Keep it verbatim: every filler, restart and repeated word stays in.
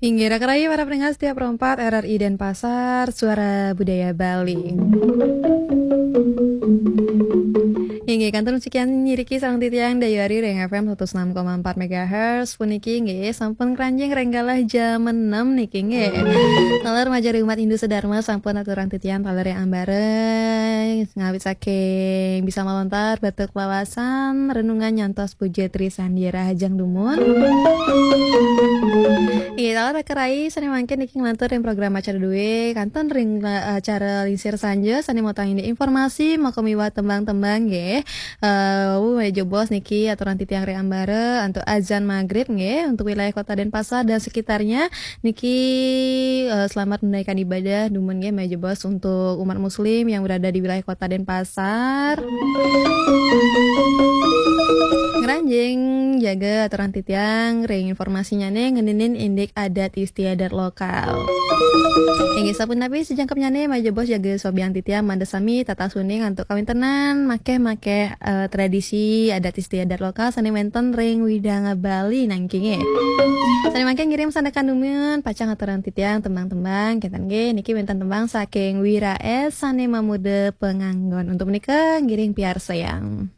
Inggih, raka rayi para pendengar setia Pro empat R R I Denpasar, Suara Budaya Bali. Inggih, kantun sekian nyiriki sareng titiang Dayu Ari ring F M satus enam koma empat megahertz puniki, nggih, sampun kranjing ring galah jam enam niki, nggih. Taler majeng ring umat Hindu sedharma sampun aturang titiang taler ring ambara, ngawit saking bisa malontar, batuk lawasan, renungan nyantos puja trisandi rahajeng dumun. Iya, taler raka rayi sane mangkin niki nglantur ring program acara duwe, kantun ring, eh, acara Lingsir Sanja sane mautang indik informasi, maka miwah tembang-tembang, nggih. Eh, wau, jebos niki aturang titiang ring ambara antuk azan maghrib, nggih, untuk wilayah Kota Denpasar dan sekitarnya niki, eh, selamat menunaikan ibadah dumun, nggih, jebos untuk umat muslim yang berada di wilayah Kota Denpasar. Ngranjing jaga aturang titiang ring informasinyane ngeninin indik adat istiadat lokal. Inggih, sapunapi sejangkepnyane, jebos jaga swabian titiang mangda sami tatas uning antuk kawintenan makeh-makeh, eh, tradisi adat istiadat lokal sane wenten ring widang Bali nangkinge. Sane mangkin ngiring sandekan dumun, pacang aturang titiang tembang-tembang, kenten nggih, niki wenten tembang saking Wira S sane mamuda panganggon. Untuk menika ngiring piarsayang.